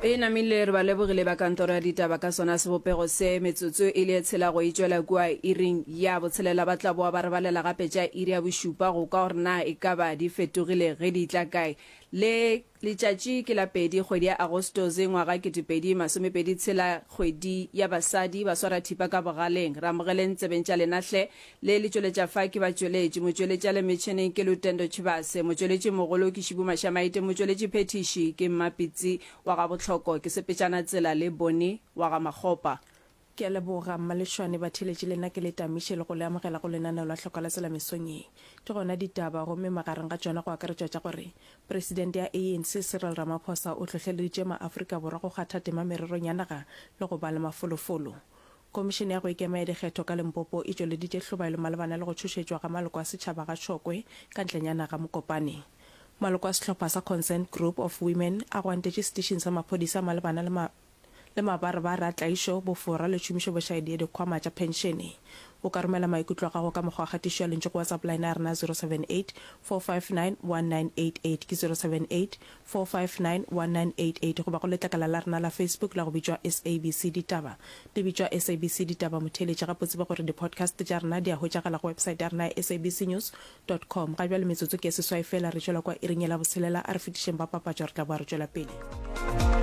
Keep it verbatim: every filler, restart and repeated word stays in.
E namile re ba lebogile ba kantoro ya ditaba ka sona sebopego se. Metsotso e le e tshela go e tšwela kua iring ya botshelela ba tla boa ba re balela gape tša iri ya bošupa go kwa gore na e ka ba di fetogile ge di tla kae. Le letšatši ke la pedi kgwedi ya Agostose ngwaga ketepedi masomepedi tshela kgwedi ya basadi ba swara thipa ka bogaleng. Re amogeleng tsebeng tša lena hle. Le le tšweletša fa ke batšweletši. Motšweletši a le metšheneng ke Lutendo Tshivhase. Motšweletši mogolo ke Šibu Mašamaite. Motšweletši phethiši ke Mmapitsi wa ga Bohloko. Ke sepetšana tsela le Boni wa ga Makgopa. Ke a leboga Mmalešwane. Batheeletši le nna ke le tamiše le go le amogela go lenaneo la Hloka la Tsela mesong ye. Ke gona ditaba gomme magareng ga tšona go akaretšwa tša gore Presidente ya A N C Cyril Ramaphosa o hlohleleditše maAfrika Borwa go kgatha tema mererong ya naga le go ba le mafolofolo. Komišene ya go ikema ya dikgetho ka Limpopo e tšweleditše hlobaelo malebana le go tšhošetšwa ga maloko a setšhaba ga Tšhokwe ka ntlenyana ga Mokopane. Maloko a sehlopha sa Concerned Group of Women a gwantetše setišing sa maphodisa malebana le ma le mabarebare a tlaišo, bofora le tšhomišobošaedi ya dikgwama tša phenšene. O ka romela maikutlo a gago ka mokgwa wa kgatišo ya lentšu go WhatsApp line ya rena zero seven eight four five nine one nine eight eight ke zero seven eight four five nine one nine eight eight goba go letlakala la rena la Facebook la go bitšwa S A B C Ditaba. Le bitšwa S A B C Ditaba motheeletši gape o tsebe gore di-podcast tša rena di a hwetšagala go website ya rena ya sabcnews dot com. Ga bjale metsotso ke ye seswai fela re tšwela kwa iring ye la botshelela a re fetišeng ba papatšo re tla boa re tšwela pele.